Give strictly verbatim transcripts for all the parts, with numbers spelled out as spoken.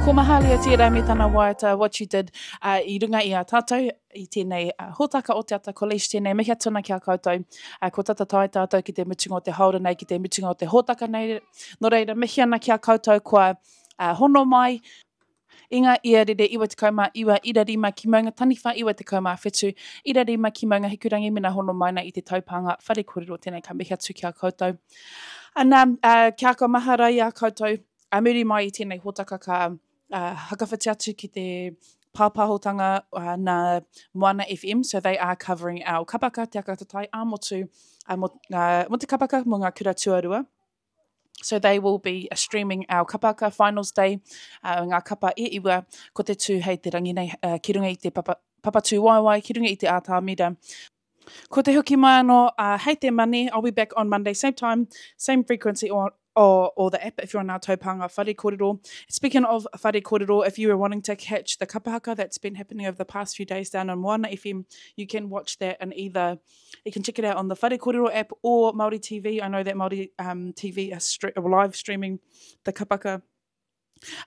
Ko Mahalia tērā me tana waiata What You Did uh, i runga i a tātou i tēnei uh, hōtaka o Te Ata College tēnei mihi atu ana ki a koutou. Uh, ko tata tae tātou ki te mutunga o te haora nei, ki te mutunga o te hōtaka nei. Nō reira, mihi ana ki a koutou kua uh, hono mai, i ngā ia rere iwa tekau mā iwa ira rima ki Maunga Taniwha iwa tekau mā whitu ira rima ki Maunga Hikurangi mena hono mai nei i te taupānga whare kōrero tēnei ka mihi atu ki a koutou. Ana, uh, kia ka mahara i a koutou, a muri mai i tēnei hōtaka ka uh, hakawhiti atu ki te pāpāhotanga uh, nā Moana F M, so they are covering our kapaka, Te Aka Tatai ā-motu, uh, mo, uh, mo te kapaka mo ngā kura tuarua. So they will be streaming our kapaka finals day, uh, ngā kapa e iwa, ko te tū hei te rangi nei, uh, ki runga i te papa, papa tūwaewae, ki runga i te ātamira. Ko te hoki mai anō, uh, hei te Mane, I'll be back on Monday, same time, same frequency or, or, or the app if you're on our taupānga whare kōrero. Speaking of whare kōrero, if you were wanting to catch the kapahaka that's been happening over the past few days down on Moana F M, you can watch that and either, you can check it out on the Whare Kōrero app or Māori T V. I know that Māori um, T V are stre live streaming the kapaka.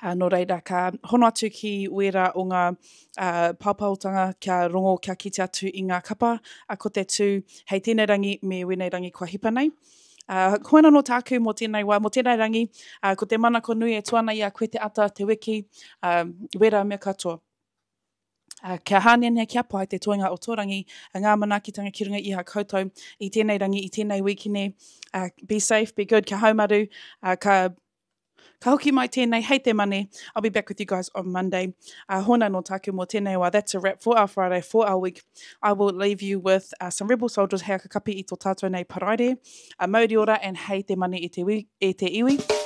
Uh, nō reira, ka hono atu ki wērā o ngā uh, pāpāotanga kia rongo, kia kite atu i ngā kapa, uh, ko te tū hei tēnei rangi me wēnei rangi kua hipa nei. Uh, koina no tāku mō tēnei wā, mō tēnei rangi, uh, ko te manako nui e tu ana i a koe te ata, te wiki, uh, wērā mea katoa. Uh, kia hāneanea, kia pai te toenga o tō rangi, uh, ngā manaakitanga ki runga i a koutou i tēnei rangi, i tēnei wikine. Uh, be safe, be good, kia haumaru, uh, ka Ka hoki mai tēnei, hei te Mane. I'll be back with you guys on Monday. Uh, hona no tāku mō tēnei wā. That's a wrap for our Friday, for our week. I will leave you with uh, some Rebel Soldiers hei kapi i tō tātou nei Paraire. Uh, mauri ora and hei te Mane e te, wi, e te iwi.